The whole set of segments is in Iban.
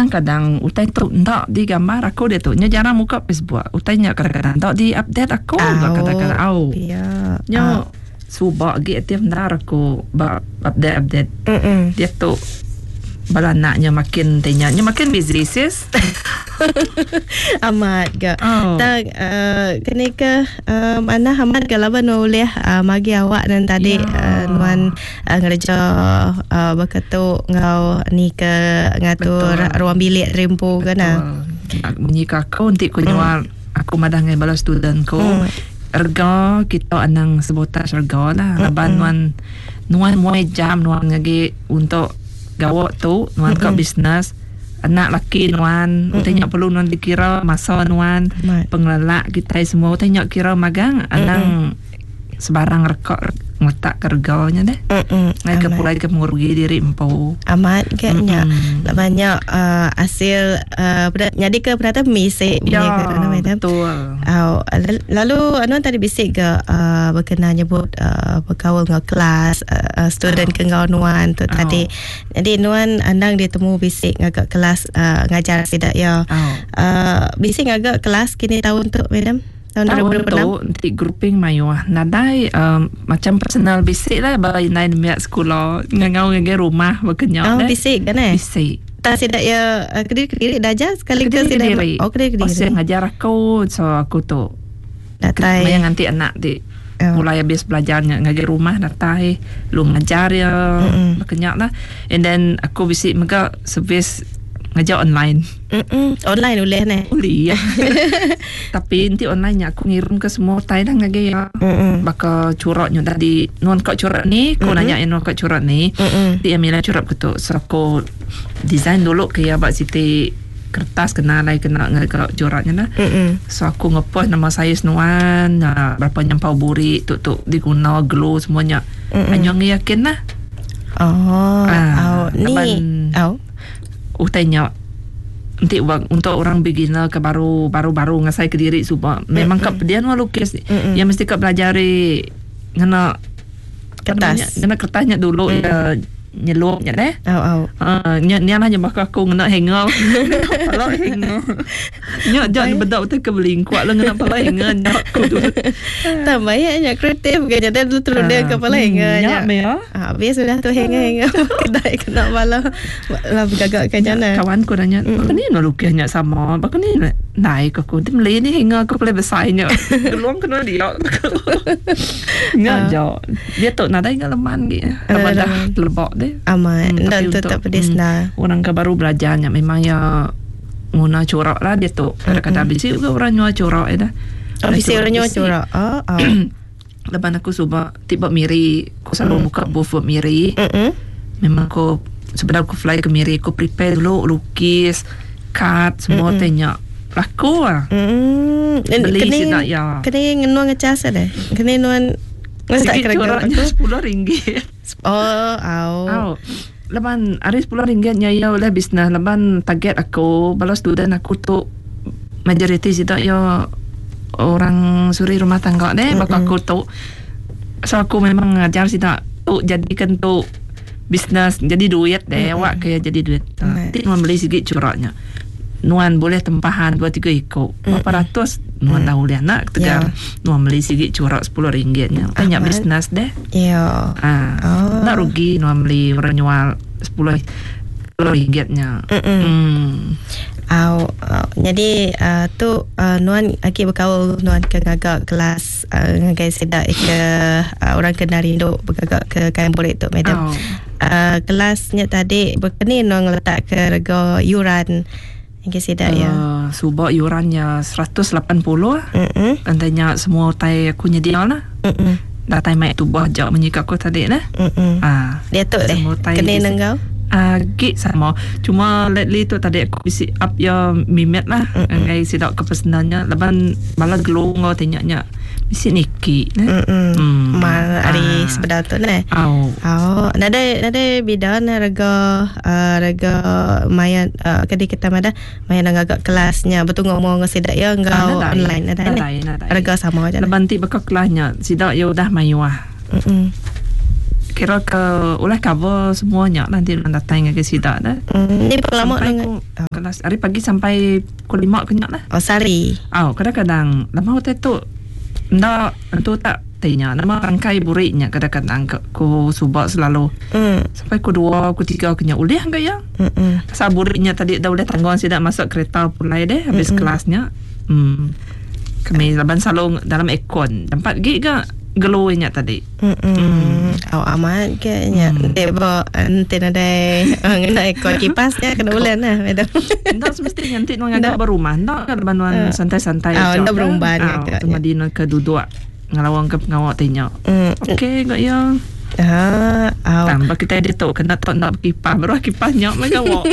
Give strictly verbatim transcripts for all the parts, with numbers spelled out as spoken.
Kadang-kadang utai tu enda digambar aku dia tu. Nya jarang muka Facebook. Utai nya kadang-kadang enda di-update aku. Au, kadang-kadang au. Pia. Nya suba agi aktif endar aku ba update-update. Mm-mm. Dia tu bala anaknya makin tanya, nya makin busy sis. Amat ga. Oh. Tang uh, kini ke uh, mana amat ga laban ulih uh, magi awak nan tadi Ya. uh, nuan uh, ngereja uh, beketu ngau ni ke ngatur Betul. ruang bilik rimpu ke na. Betul. Munyi ke aku nanti ku nyual aku madah ngai bala student ku. Mm. Rega kita anang sebutan rega lah. Laban nuan nuan muai jam nuan lagi untuk gawak tu nuan ke bisnes anak laki nuan utai nya perlu nuan dikira masa nuan Amat. pengelelak kita semua utai nya kira magang anang sebarang rekak ngeletak ke reganya deh. Mm-mm. Ngai ke Amat. pulai ke mengurugi diri empu. Amat ke nya. Mm-mm. Laban nya uh, hasil uh, peda, nyadi ke penata misik Ya, betul. betul. Au, lalu anu tadi bisik ke uh, berkenaan nyebut uh, berkaul dengan kelas uh, uh, student ke ngau nuan tu Oh. tadi. Jadi nuan andang ditemu bisik ngagak kelas uh, ngajar sidak ya. Oh. Uh, bisik ngagak kelas kini tahun tu madam? Tahun Tahun dua ribu dua puluh enam. tu nanti grouping mayuh nadai um, macam personal bisik lah bala inai nemiak sekolah ngangau ngagai rumah berkenyok Oh, deh. bisik kan eh? Bisik. Tak sidak ya uh, kediri-kediri dah ajar sekali ke sidak. Kediri-kediri. Oh, kediri-kediri. Oh, saya ngajar aku so aku tu Datai. Maya nganti anak di Oh. mulai habis belajarnya ngagai rumah datai lu ngajar ya Mm-mm. berkenyak lah and then aku bisik mega servis ngajar online Mm-mm. Online boleh ne. boleh ya tapi nanti online nya aku ngirim ke semua tai dah ngagai ya Mm-mm. baka curaknya tadi nuan kau curak ni aku nanya yang nuan kau curak ni Mm-mm. dia mila curak betul so aku design dulu ke ya bak siti kertas kena lai kena ngagai curaknya lah Mm-mm. So aku ngepost nama saya senuan uh, berapa nyampau buri tu tu diguna glue semuanya. Mm-mm. Hanya yakin lah. Oh, Ah, au ni. laban- Au. Utainya nanti bang, untuk orang beginner ke baru baru baru ngasai ke diri suba memang kap dia nu lukis Mm-mm. yang mesti kap pelajari ngena apa Kertas. namanya, ngena kertasnya dulu mm. ya nyelupnya deh. Au au. Ah, nya nya lah nyebah aku ngena hanger. Ngena pala hanger. Nya jangan bedak betul ke belingkuak lah ngena pala hanger nya aku tu. Tak banyaknya kreatif ke jadi dulu turun dia Ah, ke pala hmm, hanger nya nya. meh, ah. Ah, habis sudah tu hanger-hanger kedai kena bala lah bergagak ke jana. Kawan ku nanya, Mm. baka ni nak lukisnya sama, baka ni naik aku. Dia beli ni hingga aku boleh besarnya. Geluang kena dia. Nya Ah. jo. Dia tu nadai ngalaman gi. Lepas dah lebok dia. Amat. Hmm, Dan tapi tu untuk, tak pedis hmm, nah. Orang ke baru belajarnya memang ya nguna corak lah dia tu. Kadang-kadang bisi juga orang nyua corak ya dah. Oh, bisi orang nyawa corak. Oh, oh. Lepas aku suba tiba miri, aku selalu buka booth buat miri. Mm-mm. Memang aku sebelum aku fly ke Miri aku prepare dulu lukis card semua mm-hmm. tanya laku lah Mm. Dan Beli kena sidak, ya. Kena ngenuan ngecas ada. Kena nuan ngesak Sikit kena coraknya aku. sepuluh ringgit Oh, au. oh. Leban hari sepuluh ringgit nya ya oleh bisnes leban target aku bala student aku tu majoriti sidak ya orang suri rumah tangga deh mm-hmm. baka aku tu so aku memang ngajar sidak tu jadikan tu bisnes jadi duit deh mm-hmm. awak kaya jadi duit Mm. nanti nuan beli sikit coraknya nuan boleh tempahan dua tiga ekor berapa ratus nuan tahu dia nak tegar Ya. nuan beli sikit corak sepuluh ringgitnya banyak Amat. bisnes deh Ya. Ah, Oh. nak rugi nuan beli orang jual sepuluh sepuluh ringgitnya. Mm-mm. Hmm. Au, au. Jadi uh, tu uh, nuan aki berkaul nuan ke gagak kelas uh, ngagai sedak ke uh, orang kena rindu bergagak ke kain boleh tu madam. Oh. Uh, kelasnya tadi berkeni nuan letak ke rega yuran ngagai sedak ya. Uh, subak yurannya seratus lapan puluh lah. Mm-mm. Entahnya semua utai aku nyedia lah. Mm-mm. Datai mai tubuh jak menyikap aku tadi lah. Mm-mm. Ah. Dia tu deh. Semua utai Kena di- nenggau. Ah, gig sama. Cuma lately tu tadi aku bisi up ya mimet lah. Ngai sidak ke pesenannya. Leban bala glow ngau tanyanya. Bisi niki. Nah. Mm-mm. Hmm. Mal hari Ah. sepeda tu ne. Au. Oh, nada nada bida na rega uh, rega maya uh, kadi kita mada maya nang agak kelasnya betul ngomong ngesidak ya Ah, enggau nadai. online nada Nadai, nadai. Rega sama aja. Leban ti bekal kelasnya sidak ya udah mayuah. Mm-mm. Kira ke ulah cover semuanya nanti datang ke sidak dah. Hmm, ni lama aku oh. Kelas hari pagi sampai pukul lima kenyak lah. Oh, sehari. Oh, kadang-kadang lama hotel tu ndak tentu tak tanya nama rangkai buriknya kadang-kadang ku subak selalu. Hmm. Sampai ku dua, ku tiga kenyak ulih enggak ya? Hmm. Pasal buriknya tadi dah boleh tanggung sidak masuk kereta pulai deh habis Mm-mm. kelasnya. Hmm. Kami laban selalu dalam aircon. Tempat gig ke geluinya tadi. Hmm. Mm. Oh, amat kayaknya. Mm. Dek bo ente nadai ngena aircon kipasnya kena ulan lah madam. Ndak semestinya nanti nuang agak berumah. Ndak kan bantuan uh. santai-santai. Oh, ndak berumban oh, cuma dina ke duduk ngalawang ke pengawak tanya. Mm. Okey gak ya. Ah, oh. Tambah kita dia tu kena tak nak kipas baru kipasnya macam awak.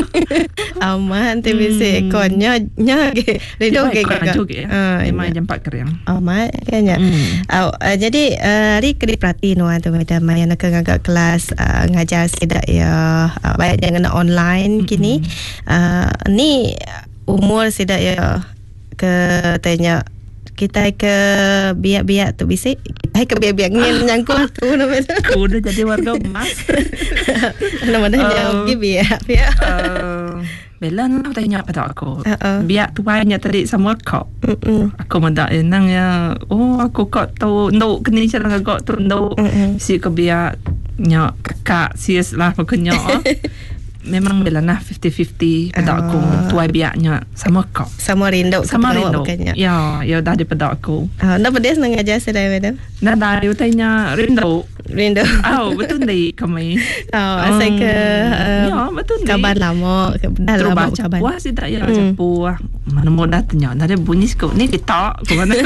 Aman ti bisi airconnya nya ge. Rindu ge gak. Ah, memang jampak kering. Amat kayaknya. Hmm. Oh, uh, jadi uh, hari ke diperhati nuan tu madam yang nak ngagak kelas uh, ngajar sidak ya uh, banyak yang kena online Mm-mm. kini. Uh, ni umur sidak ya ke tanya kita ke biak-biak tu bisik kita ke biak-biak ngin nyangkut aku nama aku udah jadi warga emas nama dah jauh uh, biak biak uh, Bella nak tanya pada aku uh-uh. biak tuanya tadi sama kau Uh-uh. Aku mendak enang ya oh aku kok tu nduk kini cara ngagak tu nduk si ke biak nyak kakak sis lah pokoknya. Memang Bella nah fifty-fifty pada aku uh. tuai biaknya sama kau. Sama rindu sama rindu. Ya, ya dah daripada aku. Ah, uh, ndak pedih senang aja sedai madam. Nah, dah utainya rindu. Rindu. Oh, betul ni kami. Oh, asal ke um, ya, betul ni. Kabar lama, dah lama kabar. Wah, sih tak ya capu. Mana mudah tanya, ada bunyi sikit ni kita ke mana.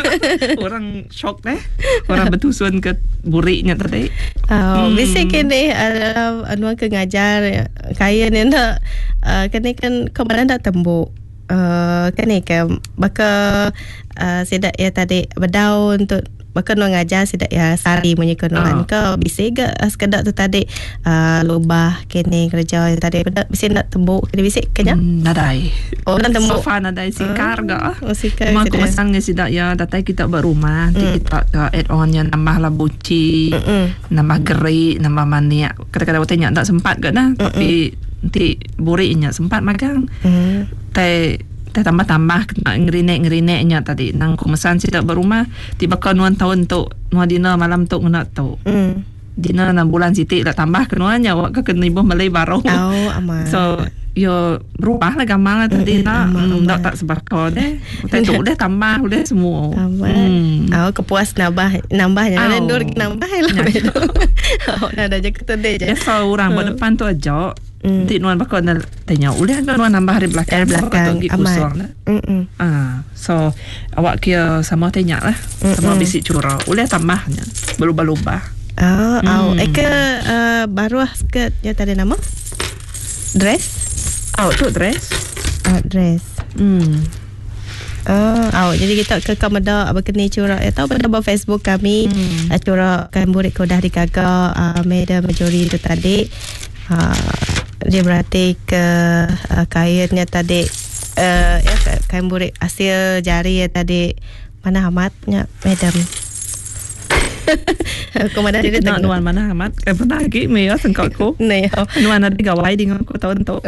Orang shock deh. Orang bertusun ke buriknya tadi. Oh, hmm. Bisa kini uh, anuan ke ngajar kaya ni nak uh, kini kan kemarin dah tembuk. Uh, kini ke baka uh, sidak ya tadi bedau untuk baka nu ngajar sidak ya sari munyi ke nuan oh. ke bisa ke sekedak tu tadi uh, lubah kini kerja tadi benda bisa nak tembuk kini bisa kenya hmm, nadai oh nak tembuk sofa nadai sikar uh, ga oh sikar mak aku masangnya sidak ya datai kita berumah nanti mm. kita ke add on nya nambah lah buci Mm-mm. nambah gerik nambah maniak kadang-kadang tanya tak sempat ke nah Mm-mm. tapi nanti buriknya sempat magang mm. tai teh tambah-tambah ngerinek-ngerineknya tadi nang ku mesan sidak berumah tiba ka nuan tahun tu nuan dina malam tu ngena tu mm. dina enam bulan sitik dah tambah ke nuan nya awak ke kena ibuh melai baru oh aman so yo berubah lah gamal lah tadi nak mm, tak tak sebaka deh udah tu udah tambah udah semua tambah hmm. Oh kepuas nambah nambahnya oh. Nur nambah lah oh nah dah je ke tadi je biasa orang buat depan tu aja. Mm. Nanti nuan bakal nak tanya boleh ke nuan nambah hari belakang hari belakang aman. Ah, so awak kira sama tanya lah Mm-mm. sama bisik curah boleh tambahnya berubah-ubah. Oh, mm. oh. Eh ke uh, baru skirt nya tadi nama dress? Oh, tu dress. Oh, dress. Hmm. Oh, oh, jadi kita ke kamada apa kena curak atau pada Facebook kami mm. curak kan burik kodah digaga uh, Madam Marjorie tu tadi. Uh, dia berarti ke uh, kainnya tadi uh, ya kain burik hasil jari ya tadi mana amatnya madam. Aku mana dia nak nuan mana amat eh pernah lagi me ya sengkok ku ne nuan ada gawai dengan aku tahun tu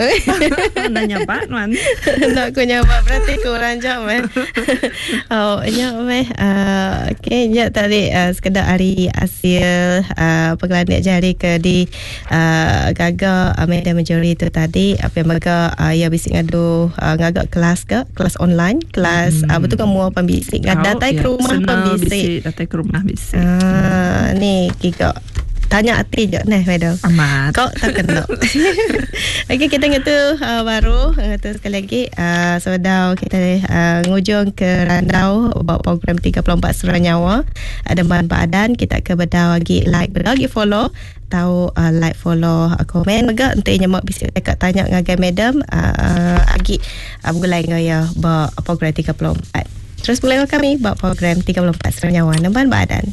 nanya pak nuan nak aku nyapa berarti kurang jam meh oh nya meh uh, okey nya tadi uh, sekedar hari hasil uh, pengelanik jari ke di uh, gaga uh, Madam Marjorie tu tadi apa yang mega uh, ya bisik ngadu uh, ngagak kelas ke kelas online kelas hmm. uh, betul kan mua pembisik oh, datai ya. ke rumah pembisik datai ke rumah bisik. Ah, ni Kika tanya hati je neh madam. Amat. Kau tak kena. Okey, kita ngetu uh, baru ngetu sekali lagi uh, sebedau kita uh, ngujung ke randau buat program tiga puluh empat Surah Nyawa. Ada bahan badan kita ke bedau lagi like bedau lagi follow tahu uh, like follow uh, komen juga nanti nyemak bisa dekat tanya ngagai madam uh, agi uh, bergulai dengan ya buat program tiga puluh empat. Terus bergulai dengan kami buat program tiga puluh empat Surah Nyawa Nemban Badan.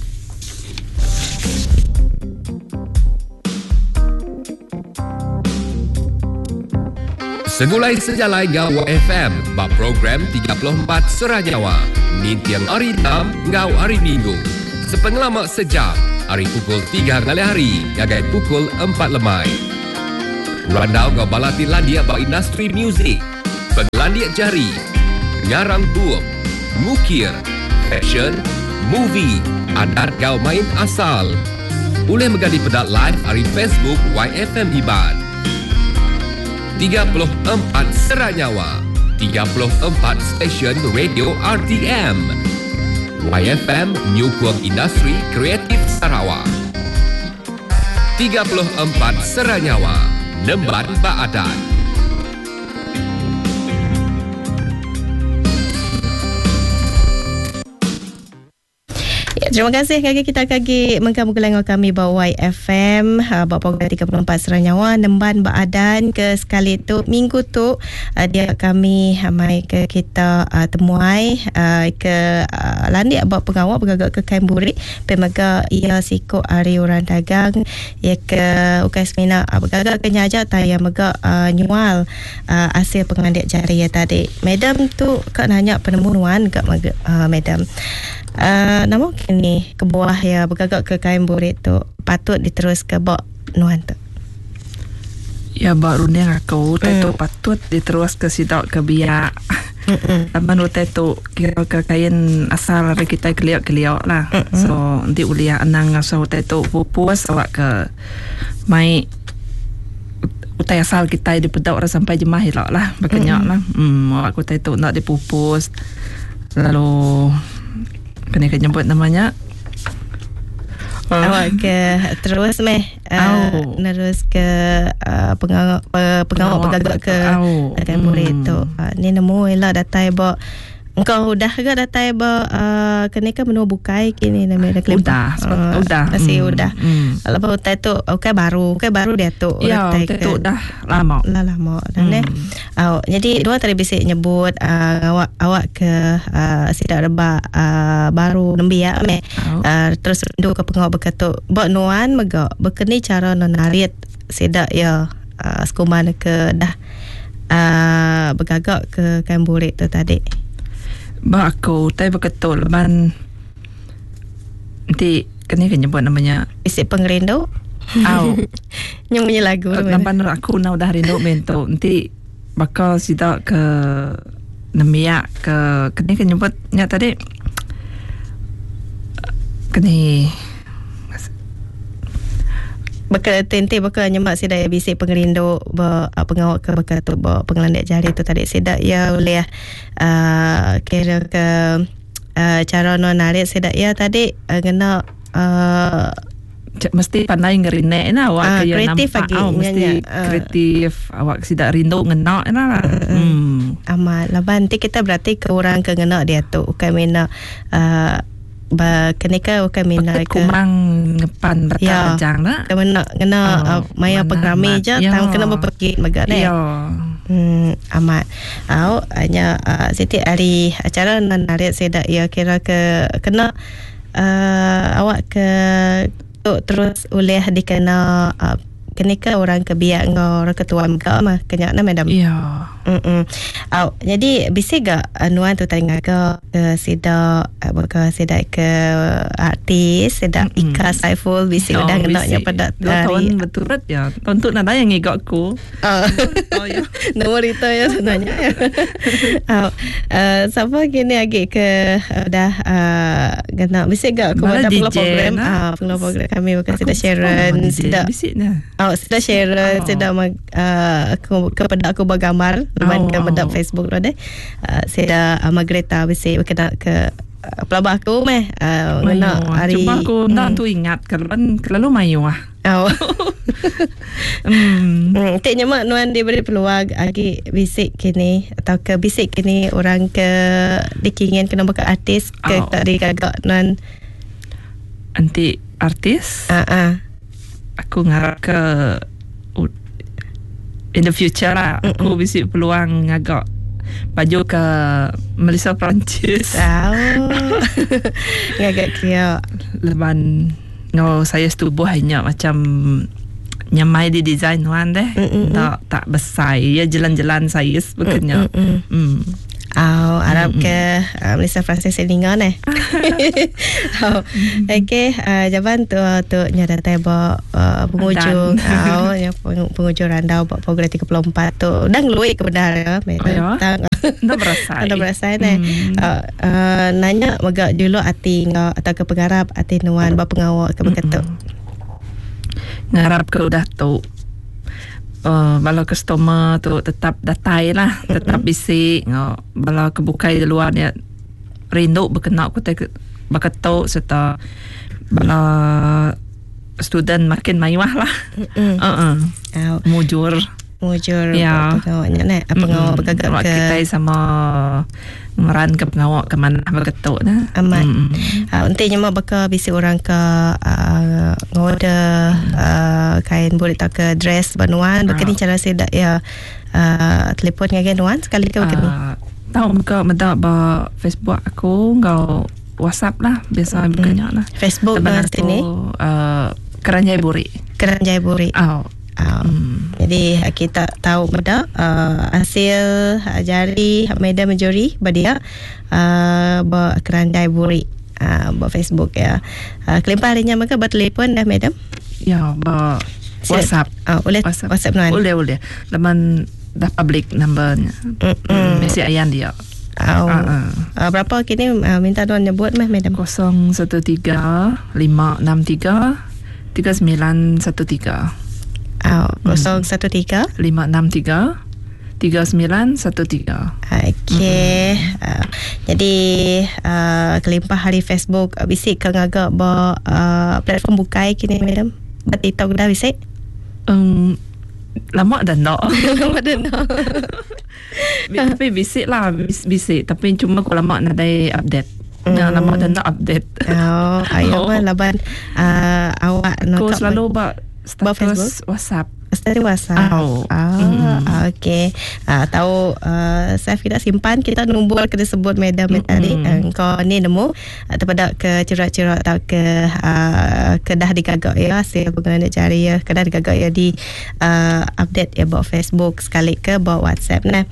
Segulai sejalai Gawa F M bab program tiga puluh empat Surah Nyawa. Nintiang hari enam ngau hari Minggu. Sepengelamak sejam. hari pukul tiga ngalih hari ngagai pukul empat lemai. Randau ngau balati landia ba industri muzik, pengelandik jari, ngarang bup, ngukir, fashion, movie, adat gau main asal. Boleh mega dipedak live hari Facebook Y F M Iban. tiga puluh empat Seranyawa, tiga puluh empat Stesen Radio R T M. Y F M Nyukung Industri Kreatif Sarawak. tiga puluh empat Seranyawa, Nemban Baadan. Ya, terima kasih kaki kita kaki mengkamu gelangau kami bawa Y F M bawa program tiga puluh empat Seranyawa Nemban Baadan ke sekali tu minggu tu dia kami mai ke kita temuai ke landik buat pengawak bergagak ke kain burik pemega ia siko ari orang dagang ia ke ukai semina bergagak ke nyaja taya mega nyual hasil pengandik jari ya tadi. Madam tu kak nanya penemuan kak madam. Uh, nama kini kebuah ya bergagak ke kain burik tu patut diterus ke bak nuan tu. Ya bak runding aku mm. tu patut diterus ke sidak ke biak. Laban utai tu kira ke kain asal dari kita keliak-keliak lah. Mm-mm. So nanti uliah anang asal utai tu pupus awak ke mai utai asal kita dipedak orang sampai jemah hilak lah berkenyak lah. Hmm awak utai tu nak dipupus lalu kena kena nyebut namanya. Uh. Awak ke terus meh uh, oh. Terus ke uh, pengawak pengawak bergagak ke kain burik tu. Uh, ni nemu elak datai ba engkau udah ke datai ba uh, kena ke menua bukai kini nama dah udah uh, udah masih mm. udah. Mm. Lepas utai tu okey baru okey baru dia tu ya, utai tu dah lama. Lah lama dah mm. ne. Uh, jadi dua tadi bisik nyebut uh, awak awak ke uh, sidak rebak uh, baru nembiak meh. Oh. Uh, terus rindu ke pengawak berketuk. Bak nuan mega bekeni cara narit sidak ya uh, sekuman ke dah uh, bergagak ke kain burik tu tadi. Ba aku tai beketul ban nanti kena kena nyebut namanya isi pengerindu. Au. Nyanyi lagu. Lamban aku na udah rindu mento. Nanti bakal sidak ke nemiak ke kena kena nyebutnya tadi. Kena bakal tente bakal nyemak sidak ya bisik pengerindu ba pengawak ke bakal tu ba pengelandik jari tu tadi sidak ya boleh uh, kira ke uh, cara non narik sidak ya tadi uh, kena uh, mesti pandai ngerinek na awak uh, ke kreatif nampak lagi oh, mesti uh, kreatif awak sidak rindu ngena na lah. Uh, hmm. Amat laban nanti kita berarti ke orang ke ngena dia tu bukan mina uh, ba kenika bukan mina ke kumang ngepan ya, bertajang nak kena kena oh, uh, maya pengrami je ya. Tang kena berpergi mega ne. Ya. Hmm amat. Au hanya uh, setiap hari acara narik sedak ya kira ke kena uh, awak ke tu terus oleh dikena uh, kenika orang ke biak ngau orang ketua mega mah kenyak na madam. Ya. Mm. Au jadi bisa gak nuan tu tanya ke ke sidak ke sidak ke artis sidak mm-hmm. Ika Saiful bisa oh, udah kena nya pada dua tahun berturut ya. Tonton nada yang ngigak aku. Oh. Oh ya. Nombor itu ya sebenarnya. Au uh, siapa kini lagi ke dah uh, kena bisa gak aku ada program ah program kami bukan sidak Sharon sidak bisiknya. Oh, sudah share, oh. Sudah uh, aku kepada aku bergambar lepas oh, ke oh. Facebook tu deh. Uh, sudah uh, Margareta bisi kena ke uh, pelabah aku meh. Uh, kena hari cuma aku hmm. nak tu ingat kalau terlalu mayu ah. Oh. Hmm. Hmm, tik nyemak nuan diberi peluang agi bisik kini atau ke bisik kini orang ke dikingin kena buka artis ke oh. Tak digagak nuan anti artis. Ah uh, ah. Uh. Aku ngarap ke in the future lah mm-mm. Aku bisi peluang ngagak baju ke Malaysia Perancis. Oh. Ngagak kia leban ngau saya setubuh hanya macam nyamai di design wan deh. Mm-mm. Tak tak besar ya jalan-jalan saya sebagainya. Mm. Mm. Oh, arap mm-hmm. ke uh, Melissa Francis ninga neh. Oh, okey, uh, jaban tu tu nya datai ba uh, penghujung oh ya penghujung randau ba program tiga puluh empat tu. Udah ngeluik ke benar ya. Oh, ya? Dah berasai. Dah berasai neh. Mm. Uh, uh, nanya mega dulu ati ngau atau ke pengarap ati nuan ba pengawak ke beketuk. Mm-hmm. Ngarap ke udah tu Uh, bala customer tu tetap datai lah, tetap bisi ngau bala kebukai di luar dia rindu berkena ku te beketuk serta bala student makin mayuah lah. Mm-hmm. Uh-uh. Oh. Mujur. Mujur ya. Pengawaknya nek pengawak mm-hmm. bergagak ke kita sama ngeran ke pengawak ke mana beketuk nah. Amat. Mm-hmm. Uh, nanti nyema baka bisi orang ke uh, ngorder uh, kain burik atau ke dress banuan uh. Begini cara sedak ya uh, telefon ngagai nuan sekali ke begini. Uh, tahu muka meda ba Facebook aku ngau WhatsApp lah biasa mm-hmm. bukannya lah. Facebook teman aku ni uh, Keranjai Buri. Keranjai Buri. Oh. Uh, hmm. Jadi kita tahu benda uh, hasil jari medan mencuri badia uh, ba Keranjai Buri uh, ba Facebook ya. Uh, kelimpah harinya maka bertelefon dah madam. Ya, ba WhatsApp. Uh, boleh WhatsApp, WhatsApp nuan. Boleh boleh. Laman dah public numbernya. Mm-mm. Mesti ayan dia. Oh. Uh-uh. Uh, berapa kini uh, minta tuan nyebut meh madam? kosong satu tiga lima enam tiga tiga sembilan satu tiga. Oh, kosong satu tiga lima enam tiga tiga sembilan satu tiga. Okey. Mm-hmm. Uh, jadi uh, kelimpah hari Facebook uh, bisik ke ngagak ba uh, platform bukai kini madam? Ba TikTok dah bisik? Um, lama dah nak. Lama dah nak. Tapi bisik lah, bisik. Tapi cuma aku lama nadai update. Mm. Nah, lama dah nak update. Oh, ayo oh. Laban uh, awak nak aku selalu ba status WhatsApp. Status WhatsApp. Oh. Ah, mm. okey. Ah, tahu uh, save kita simpan kita nombor kena sebut madam mm. tadi. Engkau ni nemu terpada ke cerak-cerak atau ke uh, kedah digagak ya hasil pengguna cari ya kedah digagak ya di uh, update ya buat Facebook sekali ke buat WhatsApp nah.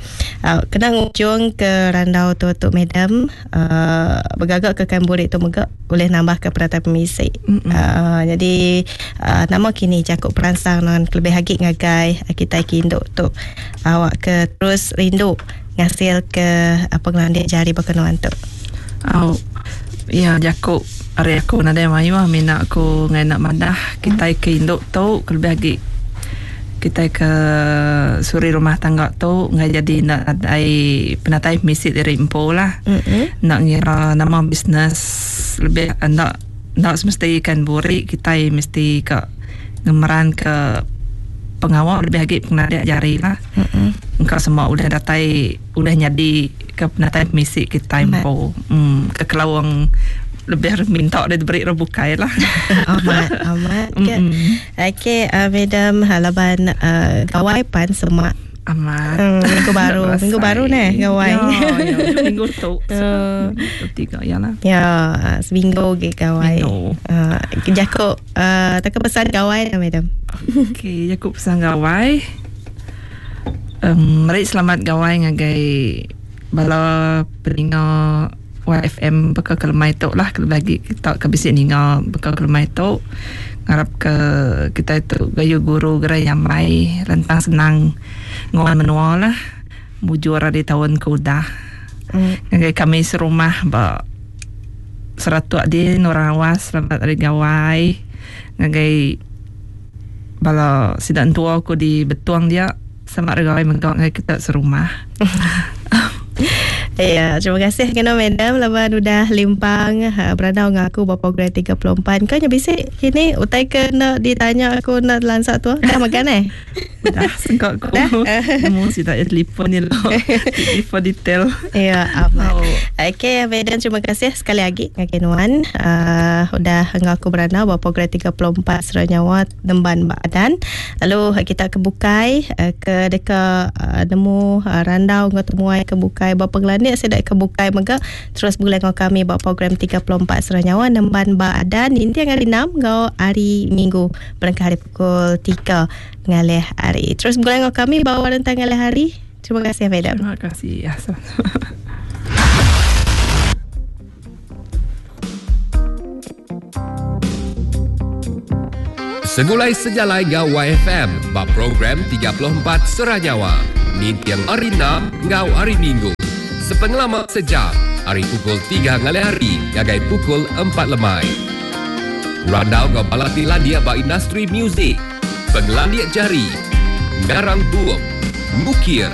Uh, kena ngujung ke randau tu tu madam uh, bergagak ke Kamburi tu megak boleh nambah ke perata pemisi. Mm-mm. Uh, jadi uh, nama kini jakuk perangsang dengan kelebih lagi ngagai kita kinduk tu awak ke terus rindu ngasil ke apa ngelandik jari berkenuan tu. Oh, ya jakuk hari aku nadai mayu mina aku ngai nak madah kita ke induk tu kelebih lagi kita ke suri rumah tangga tu ngai jadi nak adai penatai misi dari empo lah. Mm-hmm. Nak ngira nama bisnes lebih nak nak semesti ikan buri kita mesti ke ngemeran ke pengawal lebih lagi pengadik jari lah. Mm-hmm. Engkau semua udah datai udah nyadi ke penatai misi kita empo. Hmm, ke kelawang lebih minta dia beri rebukai lah. Amat, amat. Okey, uh, madam halaban uh, gawai pan semak. Amat. Hmm, minggu baru, minggu baru neh gawai. Ya, ya, minggu tu. Uh, tiga ya lah. Ya, seminggu ke gawai. Uh, jakuk uh, tak pesan gawai dah madam. Okey, jakuk pesan gawai. Um, mari selamat gawai ngagai bala peninga Y F M bekal kelemai tu lah kalau lagi kita ke bisik ninga bekal kelemai tu ngarap ke kita itu gayu guru gerai nyamai rentang senang nguan menua lah mujur di tahun ke udah mm. Ngagai kami serumah ba seratuk din orang awas selamat hari gawai ngagai bala sidak tua aku di Betuang dia selamat hari gawai mengkau ngagai kita serumah. Ya, terima kasih kena madam laban udah limpang ha, berandau dengan aku buat program tiga puluh empat. Kau nya bisik kini utai ke nak ditanya aku nak lansak tu. Dah makan eh? Dah sengkak aku. Nemu si tak telefon ni loh. Telefon detail. Ya, amat. Oh. Okey, madam terima kasih sekali lagi dengan Nuan. Uh, udah dengan aku berandau buat program tiga puluh empat Serah Nyawa Nemban Badan. Lalu kita ke Bukai ke dekat uh, nemu uh, randau dengan temuai ke Bukai buat pengelanik saya dak ke Bukai mega terus bulan dengan kami buat program tiga puluh empat Serah Nyawa Nemban Badan ini hari enam ngau hari Minggu berangkat hari pukul tiga ngalih hari. Terus bulan dengan kami bawa rentang ngalih hari. Terima kasih madam. Terima kasih. Ya, sama-sama. Segulai sejalai ngau Y F M ba program tiga puluh empat Sera Nyawa. Nintiang hari Enam ngau hari Minggu. Sepengelama sejam, hari pukul tiga ngalih hari ngagai pukul empat lemai. Randau ngau balati landia ba industri muzik, pengelandia jari, ngarang bup, mukir,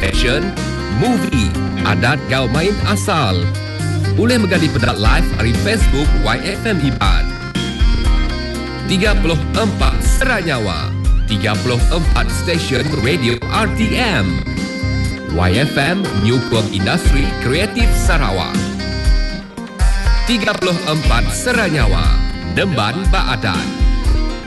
fashion, movie, adat gau main asal. Boleh mengganti pedak live hari Facebook Y F M Iban. tiga puluh empat Sera Nyawa, tiga puluh empat stesen radio R T M. Y F M Nyukung Industri Kreatif Sarawak. tiga puluh empat Sera Nyawa, Nemban Baadan.